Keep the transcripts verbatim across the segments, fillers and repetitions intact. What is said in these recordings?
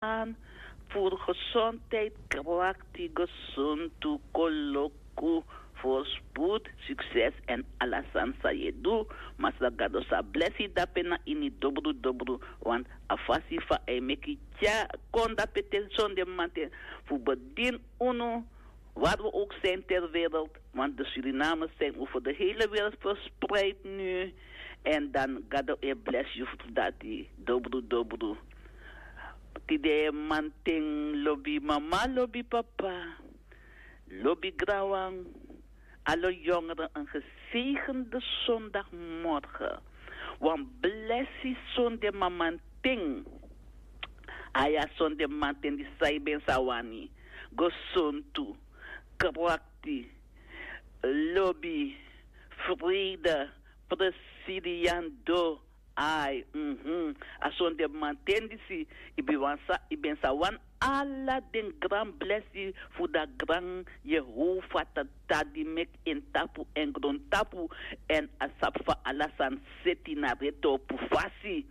Wan, voor gezondheid, krachtig, gezond, koloku, voorspoed, succes en alles aan sa ye du. Masra Gado sa blessi dape na ini dobru dobru, want a fasi fa e meki tya kon dape ten sonde manten fu bedin unu, waar we ook zijn ter wereld, want de Surinamers zijn over de hele wereld verspreid nu. En dan Gado e bless you fu dati, dobru dobru. Tide manten, lobi mama, lobi papa, lobi granwan, alle jongeren een gezegende zondagmorgen. Wan blessi sonde manten. Aya sonde manten di sai ben sawani. Gesontu, krakti, lobi, vrede, presidiando. Ai, mhm. A sonde manten disi, i ben wan sa, i ben sa wan ala den gran blesi fu da gran Jehova Tata di meki en tapu en grontapu, en a sabi fa ala sani seti na retopu fasi.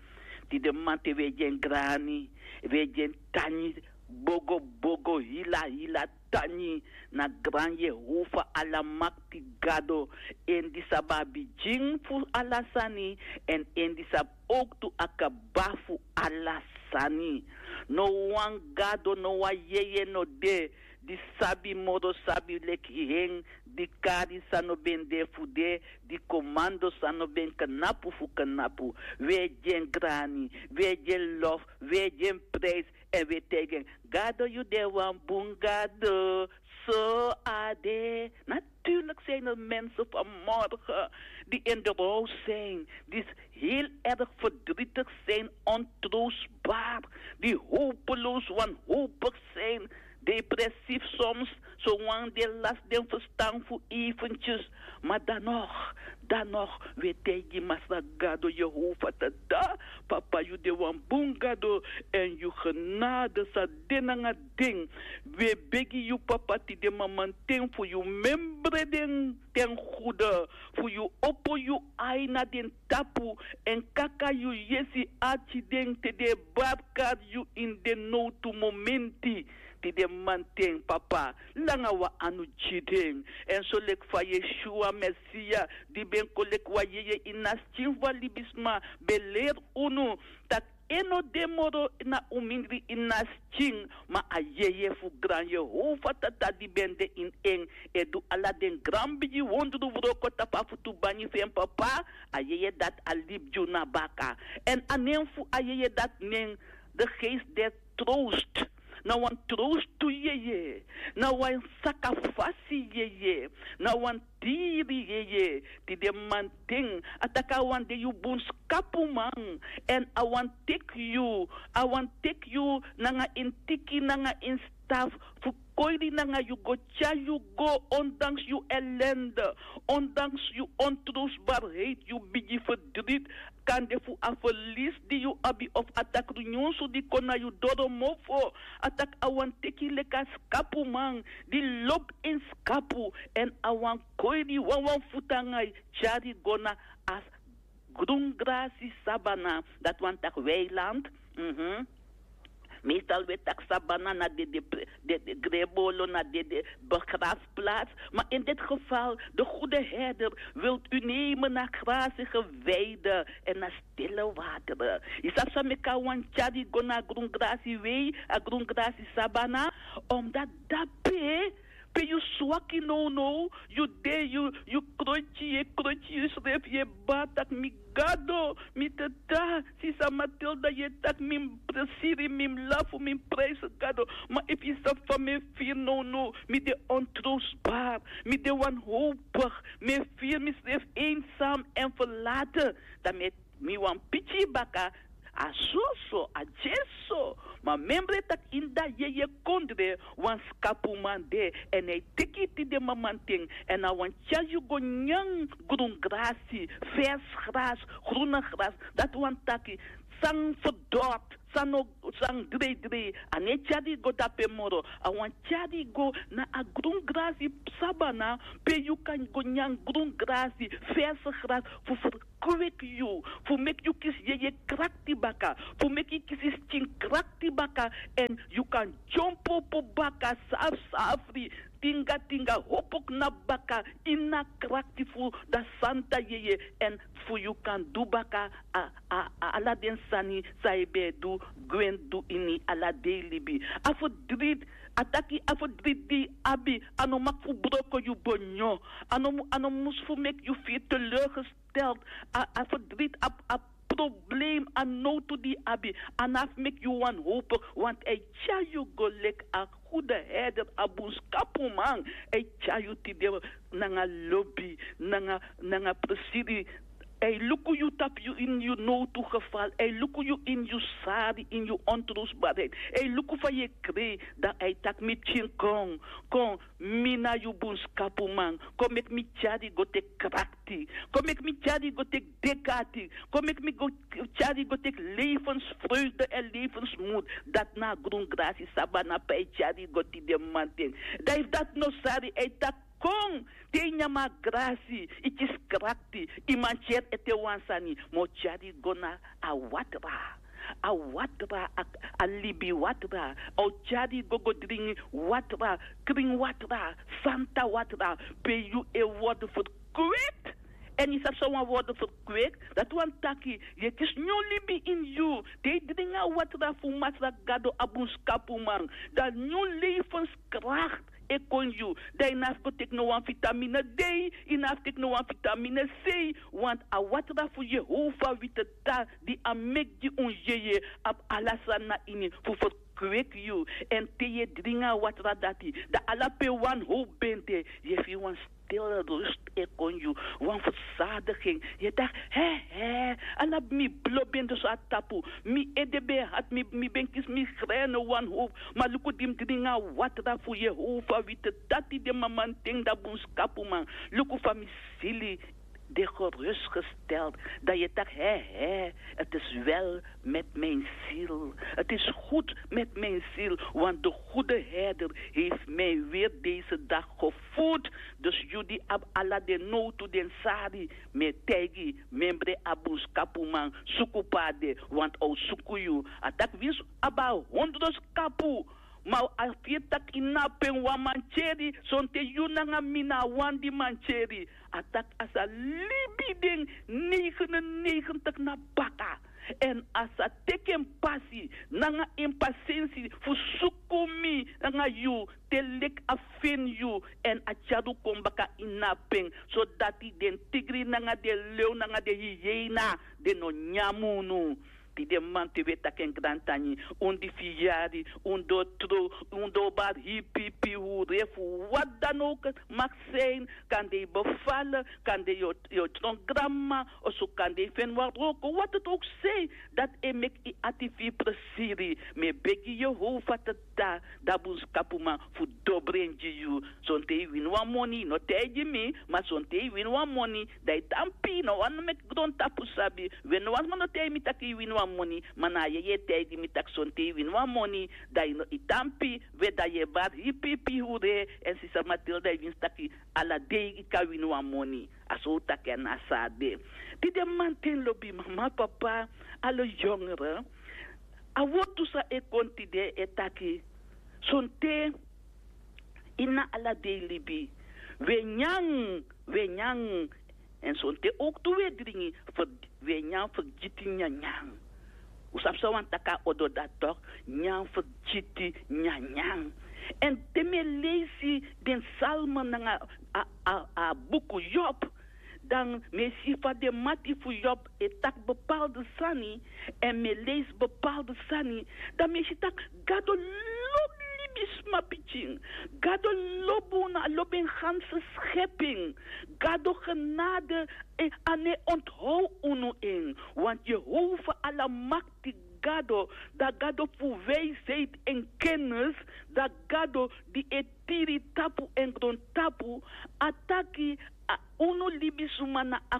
Tide manten we gi en grani, we gi en tangi, bogo bogo, hila hila tangi na gran Jehova Alamakti Gado, en di sabi a bigin fu ala sani, en en di sabi owktu a kaba fu ala sani. No wan gado, no wan yeye no de di sabi moro sabi leki en, di kari san no ben de fu de, di komando san no ben knapu fu knapu. We gi en grani, we gi en lof, we gi en prijs, en we taigi en: Gado, yu de wan bun Gado. So a de. Natuurlijk zijn er mensen vanmorgen die in de rouw zijn, die heel erg verdrietig zijn, ontroostbaar, die hopeloos, wanhopig zijn, depressief soms, zowan den lasi den ferstan fu eventjes. Maar dan nog, dan nog, we taigi Masra Gado, Jehova Tata, Papa, yu de wan bun Gado, en yu genade sa de nanga den. We begi yu, Papa, tide manten fu yu membre den ten goede, fu yu opo yu ai na den tapu, en kaka yu yesi arki den te den e barkari yu ini den nowtu momenti. Tide manten, Papa, langa wan anu gi den. En so leki fa Yeshua Mesia, di ben kon leki wan yeye ini a skin fu a libisma, ben leri unu taki en no de moro na un mindri ini a skin, ma a yeye fu gran Jehova Tata di ben de ini en, e du ala den gran bigi wondru wroko tapu a futu bangi fu en, Papa. A yeye dati a libi gi unu na baka. En a nen fu a yeye dati nen de geest der troost. Na wan troostu yeye, na wan sakafasi yeye, na wan diri yeye. Tide manten a taki a wani de yu bun skapuman, en a wani teki yu, a wani teki yu nanga en tiki, nanga en staf, fu koiri nanga yu go, tyari yu go, ondanks yu ellende, ondanks yu ontroostbaarheid, yu bigi verdriet, kande fu a verlies di yu abi of a takru nyunsu di kon na yu doro mofo. A taki a wani teki yu leki a skapuman di lobi en skapu, en a wani koiri yu wanwan futu nanga yu, tyari yu go na a grungrasi sabana, dati wani taki weiland. Mhm. Meestal we taki sabana na dede, dede grebolo, na dede begraafplaats. Maar in dit geval, de goede herder wilt u nemen naar grazige weiden en naar stille wateren. Yu sabi san meki a wani tyari yu go na grungrasi wei, a grungrasi sabana? Omdat dape pe yu swaki nownow, yu de, yu, yu krotyi, yu e krotyi yusrefi, yu e bari taki: Mi Gado, mi Tata, sisa Matilda, yu e taki mi mus presiri, mi mus lafu, mi mus prijsi Gado. Ma efu yu sabi fa mi e firi nownow, mi de ontroostbaar, mi de wanhopig, mi e firi misrefi eenzaam en verlaten, dan mi e mi wani piki yu baka. A soso, a dyeso. Ma memre taki ini da yeye kondre wan skapuman de, en a e teki yu tide manten, en a wani tyari yu go nyan grungrasi, vers gras, groene gras. Dati wani taki san verdort, san no san dreidrei, a no e tyari yu go dape moro. A wani tyari yu go na a grun grasi sabana, pe yu kan go nyan grun grasi, verse grasi, fu ferkweki yu, fu meki yu kisi yeye krakti baka, fu meki yu kisi skin krakti baka, èn yu kan dyompo opo baka safri safri, tinga tinga, hopo knapu baka ini a krakti fu a santa yeye, èn fu yu kan du baka a a a ala den sani san yu ben e du gwe du ini ala dei libi. A ferdriti, a taki a ferdriti di yu abi, a no maki fu broko yu bonyo. A no mu- a no mus fu meki yu firi teleurgesteld. A a ferdriti, a a problem, a nowtu di yu abi, a no abi fu meki yu wanhopig, want a e tyari yu go leki a gude herder, a bunskapuman. A e tyari yu tide nanga lobi, nanga nanga presiri. A e luku yu tapu yu ini yu nowtu geval, a e luku yu ini yu sari, ini yu ontrusbarheid. A e luku fa yu e krei, dan a e taki mi pikin, kon, kon, mi na yu bunskapuman. Kon meki mi tyari yu go teki krakti. Kon meki mi tyari yu go teki dekati. Kon meki mi go tyari yu go teki levensvreugde èn levensmoed. Dati na a grun grasi sabana pe a e tyari yu go tide mamanten. Dan efu dati no sari, a e taki kon, te yu nyan a grasi, yu kisi krakti, yu mantyeri ete wan sani, ma a o tyari yu go na a watra. A watra, a a libi watra. A o tyari yu go go dringi watra, krin watra, santa watra, pe yu e wordu ferkweki. Èn yu sabi san wan wordu ferkweki? Dati wani taki yu e kisi nyun libi ini yu. Te yu dringi a watra fu Masra Gado, a bunskapuman, dan nyun levenskrakt e kon yu. Dan yu no abi fu go teki no wan vitamine D, yu no abi fu teki no wan vitamine C, want a watra fu Yehova witeta di a meki gi un yeye abi ala sani na ini fu ferkweki yu. Èn te yu e dringi a watra dati, dan ala pe wanhowpu ben de, yu e firi wan stil rust e kon yu, wan versadiging. Yu e taki, he, he, ala mi blo ben de so na tapu, mi ede ben hati, mi mi ben kisi migraine wanhowpu. Ma luku di mi dringi a watra fu Yehova witeta tide mamanten, dan bunskapuman, luku fa mi sili de gerustgesteld. Dan yu e taki, he, he, het is wel met mijn ziel. Het is goed met mijn ziel, want de goede herder heeft mij weer deze dag gevoed. Dus yu di abi ala den nowtu, den sari, mi e taigi membri a bunskapuman, suku pe a de, want a o suku yu. A taki winsi un abi a hondro skapu, ma a firi taki yu no abi pen wan mantyeri, sonten yu nanga mi na a wan di mantyeri. A taki a sa libi den negenennegentig na baka. Èn a sa teki en pasi nanga en pasensi fu suku mi nanga yu, te leki a feni yu, èn a tyari un kon baka ini a pen, sodati den tigri nanga den lew nanga den hyena, den no nyan unu. Tide mamanten wi e taki en grantangi, un di firi yari, un doro trow, un doro bari hipipi hure fu wat dan ook mag zijn, kande yu befal, kande yu o tron granmama, oso kande yu feni wan wroko, wat het ook zij, dati e meki yu ati firi presiri. Mi e begi Yehova Tata, dan bunskapuman, fu dobri en gi yu. Sonten yu wini wan moni, yu no taigi mi, ma sonten yu wini wan moni, dan yu tampi, no wani meki grontapu sabi. We, no wan sma no taigi mi taki yu wini wan moni, ma na a yeye e taigi mi taki sonten yu wini wan moni, dan yu no, yu tampi. We, dan yu e bari hipipi hure, èn sisa Matilda e winsi taki ala dei yu kan wini wan moni. A so un taki, a na so a de. Tide mamanten, lobi mama, papa, ala yongre, a wortu san e kon tide e taki, sonten ini ala dei libi, wi e nyan, wi e nyan, èn sonten ook tu wi e dringi, fu wi e nyan fergiti nyanyan. Un sabi san wani taki a odo dati tok, nyan fergiti nyanyan. Èn te mi e leisi den Psalmen nanga a a a buku Job, dan mi e si fa den mati fu Job e taki bepaalde sani, èn mi e leisi bepaalde sani, dan mi e si taki Gado lobi libisma pikin. Gado lobi unu, a lobi en ganse schepping. Gado genade, a no e onthou unu en. Want Yehova Alamakti Gado, dan Gado fu wijsheid en kennis, dan Gado di e tiri tapu èn grontapu, a taki, a Unu libisuma na a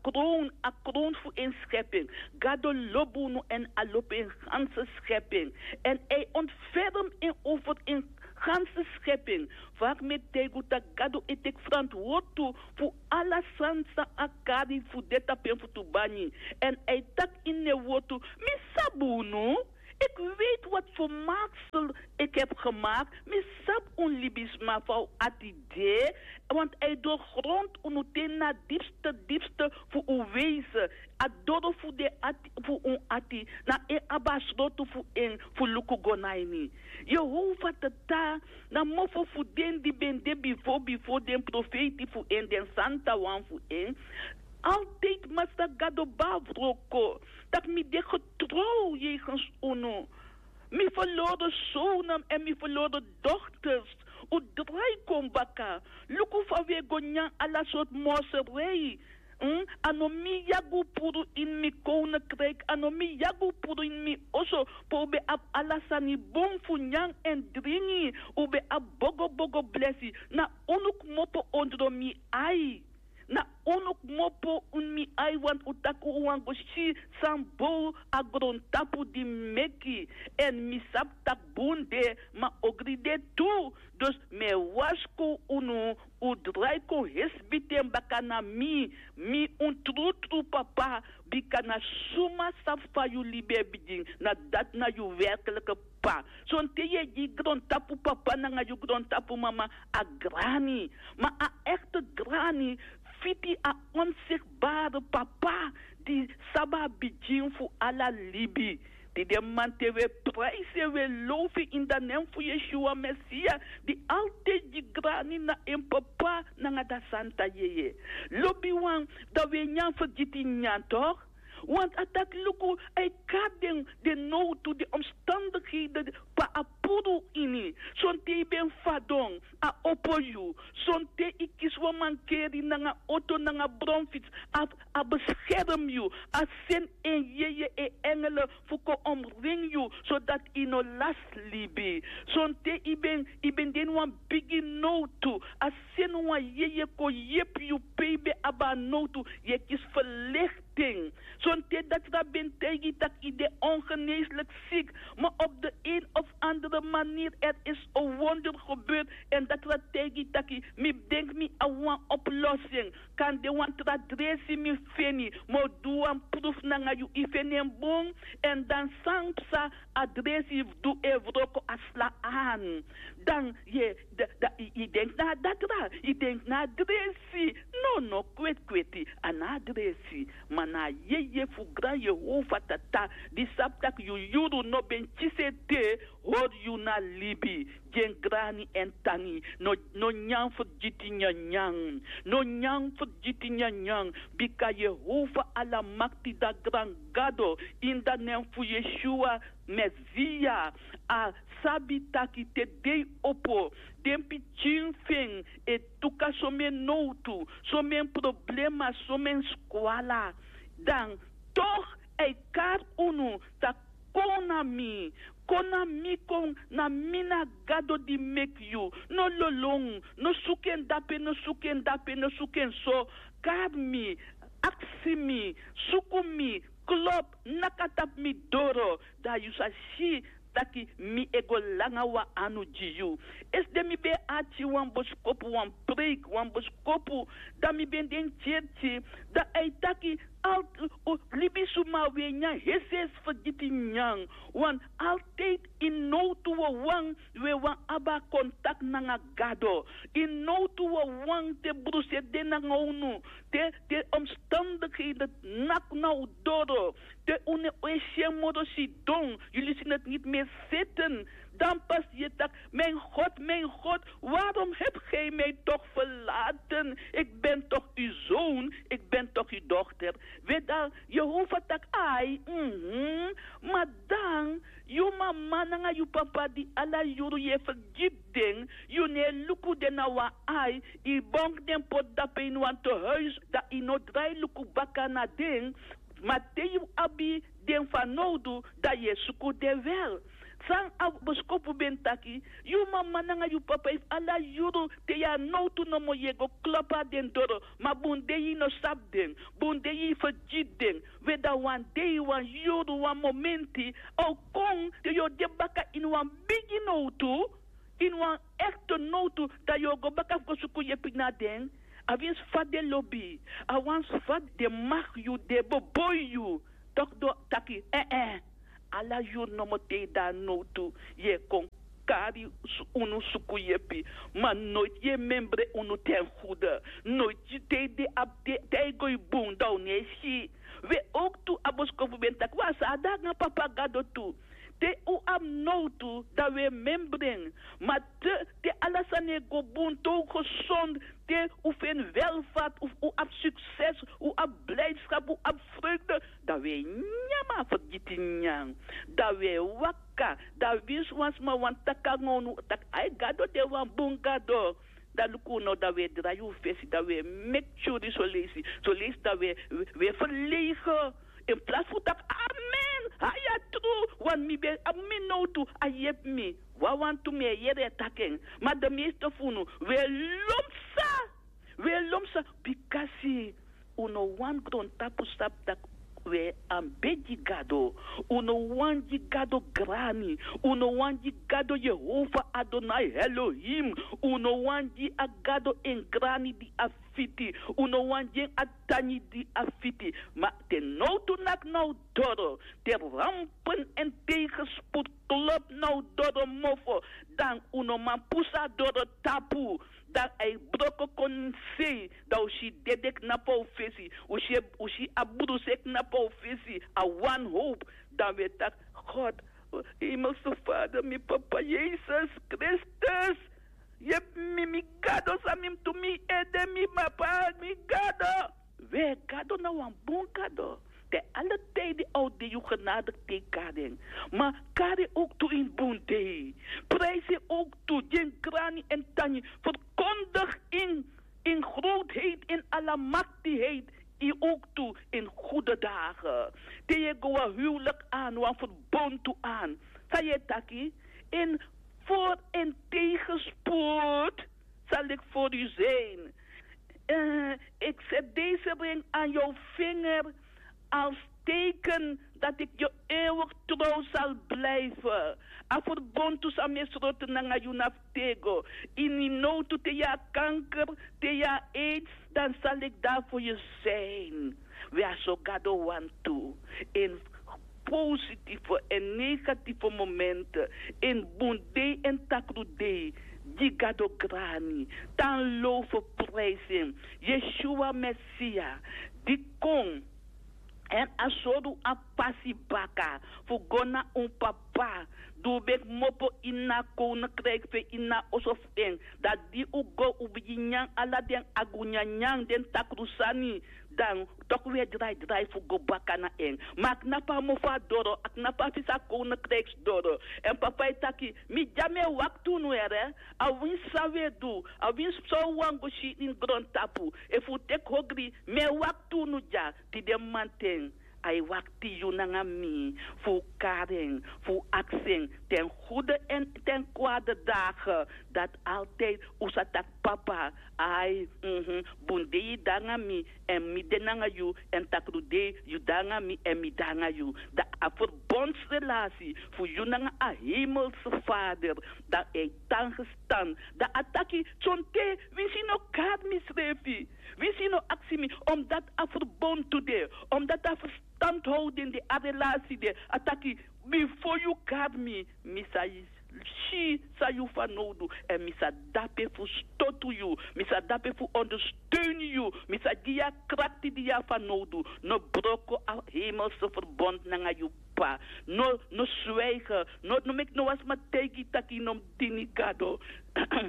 krown a krown fu en skepi en. Gado lobi unu èn a lobi en ganse skepi en. Èn a e ontferm en over en ganse skepi en. Fa a kmi e taigi unu tak' gado e teki frantwortu fu ala sani san a kari fu de tapu en futu banyi. Èn a e taki ini en wortu, mi sabi unu. Iki weiti wati fu maksel iki hebi gemaki. Mi sabi un libisma fa un ati de. Want a e dogrontu unu te ini a dipste dipste fu un weisi. A doro fu den ati fu un ati na en abi a srotu fu en fu luku go na ini. Yehova tata na mofo fu den di ben de bifo bifo den profeiti fu en den santa wan fu en. Altidi masra gado ben a wroko tak' mi de getrow yegens unu. Mi ferlori sownen èn mi ferlori dokters. Un drai kon baka. Luku fa un e go nyan ala sortu morserei. A no mi yagi un puru ini mi kownekriki a no mi yagi un puru ini mi oso pe un ben abi ala sani bun fu nyan èn dringi. Un ben abi bogobogo blesi. Na unu kmopo ondro mi ai. Na unu kmopo ini mi ai wantu un taki un wani go si san bow a grontapu di mi meki. Èn mi sabi tak' bun de ma ogri de tu. Dus mi e warskow unu. Un drai kon hesbiten baka na mi. Mi un trutru papa. Bika na suma sabi fa yu libi e bigin na dati na yu werklike p'pa. Sonten yu e gi grontapu papa nanga yu grontapu mama a grani. Ma a ekte grani fiti a onsigbare papa di sabi a bigin fu ala libi. Di den man te wi e praisi en wi e low fu en ini dan nen fu yeshua mesia di altidi gi grani na en papa nanga dan santa yeye. Lobiwan, dan wi e nyan fergiti nyan tok'. Want a taki luku a e kari den den nowtu den omstandigheden pe a puru ini. Sonten yu ben fadon a opo yu. Sonten yu kisi wan mankeri nanga oto nanga bronfits a beskerm yu. A seni en yeye en engele fu kon omring yu sodati yu no lasi libi. Sonten yu ben yu ben de ini wan bigi nowtu a seni wan yeye kon yepi yu pe yu ben abi a nowtu. Yu e kisi ferlekti ten. Sonten datra ben taigi yu tak' yu de ongeneeslik sik. Ma op de een of andere manier er is en wonder gebeurt. Èn datra taigi yu tak' mi denki mi abi wan oplossing. Kan de wan tra dresi mi feni ma o du wan pruf nanga yu yu feni en bun. Èn dan san psa a dresi fu du e wroko a sla an. Dan yu e dan yu denki na a datra yu denki na a dresi. No no kwetkweti a na a dresi. Ma na a yeye fu gran yehova tata di sabi tak' yu yuru no ben kisi ete. Hori yu na libi gi en grani èn tangi. No nyan fergiti nyanyan. No nyan fergiti nyanyan. Bika yehova alamakti dati gran gado ini dan nen fu yeshua mesia. A sabi taki te dei opo den pikin fu en e tuka somen nowtu, somen problema, somen skwala. Dan tok' a e kari unu tak' kon na mi. Kon na mi kon na mi na gado di meki yu. No lolon. No suku en dape no suku en dape no suku en so. Kari mi. Aksi mi. Suku mi. Klop. Naki na tapu mi doro. Dan yu sa si taki mi e go langa wan anu gi yu. Esde mi ben e arki wan boskopu wan preiki wan boskopu. Dan mi ben de ini kerki dan a e taki altu libisuma wi e nyan hesihesi fergiti nyan. Wan altidi ini nowtu wawan wi e wani abi a kontakti nanga gado. Ini nowtu wawan te brusu e de nanga unu te te omstandigheden naki na un doro. Te un no e si en moro sidon. Yu lisi neti niti mi e seten. Dan pasi yu e taki, mien god mien god, warom hebi gi mi tok' ferlaten? Iki ben tok' yu zoon. Iki ben tok' yu dokter. We dan yehova taki ai. Ma dan yu mama nanga yu papa di ala yuru yu e fergiti den. Yu no e luku den na wan ai. Yu bongi den poti dape ini wan tehuis dan yu no drai luku baka na den. Ma te yu abi den fanowdu, dan yu e suku den wel. San a boskopu ben taki, yu mama nanga yu papa efu ala yuru te yu a nowtu nomo yu e go klopu na den doro. Ma bun dei yu no sabi den, bun dei yu fergiti den. We, dan wan dei, wan yuru, wan momenti a o kon te yu o de baka ini wan bigi nowtu, ini wan ekte nowtu, dan yu o go baka fu go suku yepi na den. Awinsi fa den lobi, awinsi fa den maki yu, den boboi yu, toki den o taki, eh eh, ala yuru nomo te yu de na nowtu yu e kon kari unu suku yepi. Ma noiti yu e membre unu ten gude. Noiti yu te yu de abi te yu go e bun, dan un no e si. We, owktu a boskopu ben taki wan sani de nanga papa gado tu. Te un abi nowtu, dan un e membre en. Ma te, te ala sani e go bun, te un gesond, te un feni welvaart, un, un abi sukses, un abi blijdschap, un abi vreugde, dan un e nyan, ma fergiti nyan. Dan un e waka, dan winsi wan sma wani taki nanga unu taki ai, gado de wan bun gado. Dan luku un now, dan un e drai un fesi, dan un e meki tyuri soleisi, soleisi dan un e, un e ferleigen. In plaats fu taki amen, a ya tru, want mi ben abi mi nowtu, a yepi mi. Wawan tu mi e yere e taki en. Ma de meeste fu unu, un e lon psa, un e lon psa, bikasi un no wani grontapu sabi taki un e anbedi Gado. Un no wani gi Gado grani. Un no wani gi Gado Jehovah Adonai Elohim. Un no wani gi a Gado en grani di a fiti. Un no wani gi en a tangi di a fiti. Ma te nowtu naki na un doro, te rampen èn tegenspoed klop na un doro mofo, dan un no man pusu a doro tapu. Dan a e broko kon ini sei, dan un si dede knapu na un fesi, un si, un si a bruse knapu na un fesi, a wanhoop. Dan un e taki, God, hemelse Vader, mi papa Yesus Kristus, yepi mi, mi Gado san mi mus du, mi ede, mi papa, mi Gado. We, Gado na wan bun Gado. Te ala tijden a o de yu genade te yu kari en. Ma kari en owktu ini bun dei. Prijs en owktu, gi en grani èn tangi. Verkondig in, in grootheid, in almachtigheid, in owktu, in goede dagen. Te yu e go wan huwelijk aan, wan verbond tu aan. San yu e taki? In voor en tegenspoed zal ik voor u zijn. Eh, ik zet deze ring aan jouw vinger als teken dat ik je eeuwig trouw zal blijven. A verbond tu san mi e sroto nanga yu na fu tego. Ini nowtu te yu a kanker, te yu a aids, dan zal ik daar voor je zijn. We, a so Gado wani tu. In positieve en negatieve momenten, in bun dei èn takru dei, gi Gado grani, tan low fu prijs en. Yeshua Mesia, di kon èn a sori un a pasi baka fu go na un Papa, di un ben kmopo ini a koninkrijk fu en, ini a oso fu en. Dan di un go, un bigin nyan ala den agunyanyan, den takru sani, dan toku un e draidrai fu go baka na en. Ma a knapu a mofo a doro, a knapu a fesi a koninkrijksdoro. Èn Papa e taki, mi dya, mi e wakti unu, here. Awinsi san un e du, awinsi san un wani go si ini grontapu, efu un teki ogri, mi e wakti unu dya. Tide mamanten a e wakti yu nanga mi fu un kari en, fu un aksi en, ten goede en ten kwade dagen, dati altijd un sa taki: Papa, ai, mhm, bun dei yu de nanga mi, èn mi de nanga yu, èn takru dei yu de nanga mi èn mi de nanga yu. Dan a verbondsrelatie fu yu nanga a hemelse Vader, dan e tan gestan. Dan a taki: Sonten winsi yu no kari misrefi, winsi yu no aksi mi, omdat a verbond tu de, omdat a verstandhouding de, a relatie de, a taki: Bifo yu kari mi, mi sa si san yu fanowdu, èn mi sa de dape fu stotu yu, mi sa de dape fu ondersteun yu, mi sa gi yu a krakti di yu abi fanowdu. No broko a hemelse verbond nanga yu Papa. No, no zwijgen, no, no meki no wan sma taigi yu taki yu no mus dini Gado.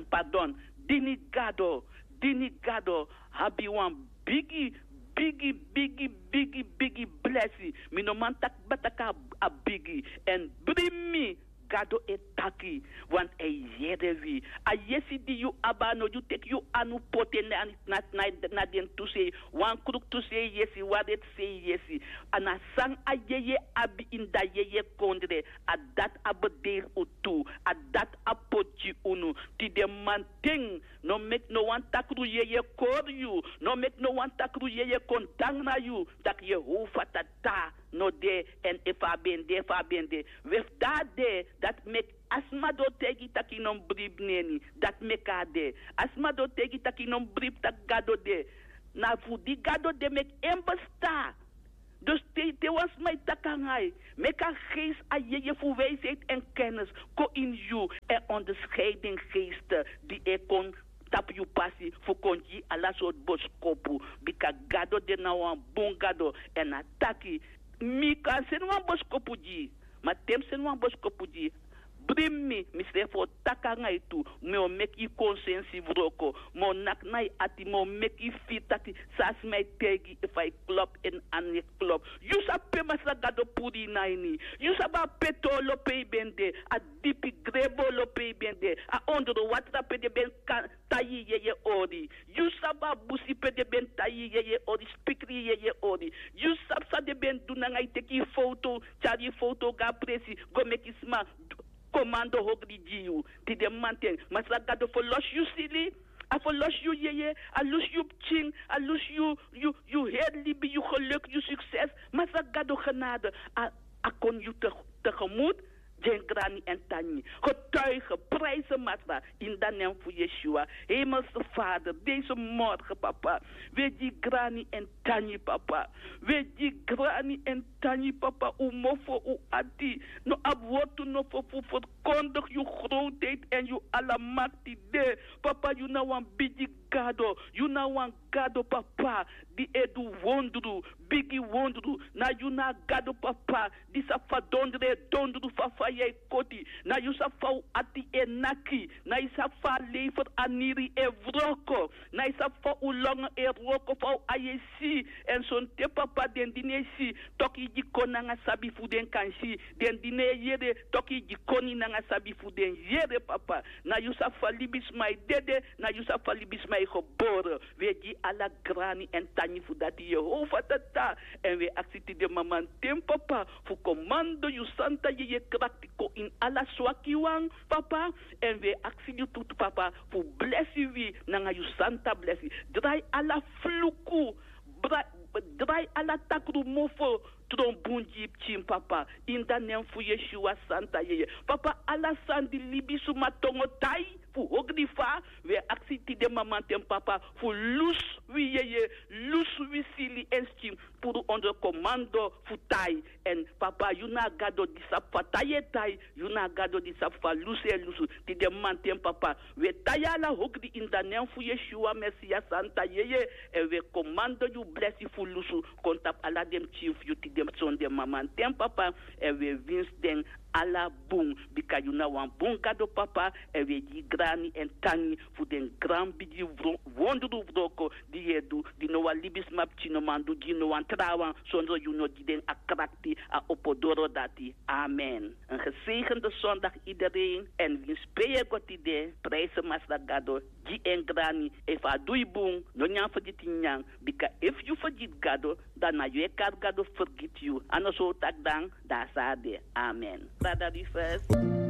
Pardon, dini Gado, dini Gado abi wan bigi, bigi, bigi, bigi, bigi blesi. Mi no man taki kba taki a bigi. Èn bribi mi, Gado e taki, want a e yere wi. A yesi di yu abi, a no yu teki yu anu poti en na, na, na, na den tu sei. Wan kruktu sei yesi, wan reti sei yesi. A na san a yeye abi ini a yeye kondre. A dati a bederi unu tu. A dati a poti gi unu. Tide mamanten, no meki no wan takru yeye kori yu. No meki no wan takru yeye kon dangra yu. Taki Yehova Tata no de, èn efu a ben de, efu a ben de. We, efu a de, dati meki a sma di o taigi taki no mus bribi neni. Dati meki a de. A sma di o taigi taki no mus bribi taki Gado de, na fu di Gado de meki en bestaan. Dus te, te wan sma e taki nanga yu, meki a geest, a yeye fu wijsheid en kennis kon ini yu, en onderscheiding geest di e kon tapu yu pasi fu kon gi yu ala sortu boskopu. Bika Gado de na wan bun Gado, èn a taki, mi kan seni wan boskopu gi yu. Ma te mi seni wan boskopu gi yu, bribi mi, misrefi o taki nanga yu tu. Mi o meki yu konsensi wroko. Mi o naki na yu ati, mi o meki yu firi taki san a sma e taigi, efu a e klopu èn a no e klopu. Yu sabi pe Masra Gado puru yu na ini. Yu sabi a pe tolo pe yu ben de, a dipi grebo lo pe yu ben de, a ondro watra pe den ben kan tai yu yeye ori. Yu sabi a busi pe den ben tai yu yeye ori, spikri yu yeye ori. Yu sabi san den ben du nanga yu, teki yu foto, tyari yu foto go na presi, go meki sma komando hogri gi yu. Tide mamanten, Masra Gado ferlosi yu sili, a ferlosi yu yeye, a lusu yu pikin, a lusu yu, yu, yu heri libi, yu geluk, yu sukses. Masra Gado genade, a, a kon yu te, tegemoet. Gi en grani èn tangi. Getuige, prijs Masra, in de naam fu Yeshua. Hemelse Vader, deze morgen, papa, we gi grani èn tangi, papa. We gi grani èn tangi, papa. Un mofo, un ati no abi wortu nofo fu ferkondigi yu grootheid èn yu alamakti de. Papa, yu na wan bigi Gado. Yu na wan Gado, papa, di e du wondru, bigi wondru. Na yu na a Gado, papa, di sabi fa dondru e dondru, fa faya e koti. Na yu sabi fa un ati e naki. Na yu sabi fa a leifer aniri e wroko. Na yu sabi fa un longo e wroko, fa un ai e si. Èn sonten, papa, den di no e si, toki gi koni nanga sabi fu den kan si. Den di no e yere, toki gi koni nanga sabi fu den yere, papa. Na yu sabi fa libisma e dede, na yu sabi fa libisma e gebore. We gi ala grani èn tangi fu dati, Yehova Tata. Èn we aksi tide mamanten, papa, fu komando yu santa yeye krakti kon ini ala swakiwan, papa. Èn we aksi yu tu, papa, fu blesi wi nanga yu santa blesi. Drai ala fluku, bra-, drai ala takru mofo tron bun gi yu pikin, papa. In de naam fu Yeshua santa yeye. Papa, ala sani di libisma tongo tai fu hogri fa, we aksi tide mamanten, papa, fu lusu wi yeye, lusu wi sili èn skin, puru ondro komando fu tai. Èn, papa, yu na a Gado di sabi fa tai e tai, yu na a Gado di sabi fa lusu e lusu. Tide mamanten, papa, we tai ala hogri in de naam fu Yeshua Mesias santa yeye. Èn we komando yu blesi fu lusu kon tapu ala den pikin fu yu tide sonde mamanten, papa. Èn we winsi den ala bun, bika yu na wan bun Gado, papa. Èn we gi grani èn tangi fu den gran bigi wro-, wondru wroko di yu e du, di no wan libisma pikin no man du gi no wan trawan, sondro yu no gi den a krakti, a opo doro dati. Amen. Een gezegende zondag iedereen. Èn winsi pe yu e go tide, prijs Masra Gado, gi en grani. Efu a du yu bun, no nyan fergiti nyan. Bika efu yu fergiti Gado, dan na yu e kari Gado fergiti yu. A no so un taki dan, dan a so a de. Amen. Brada Rufus.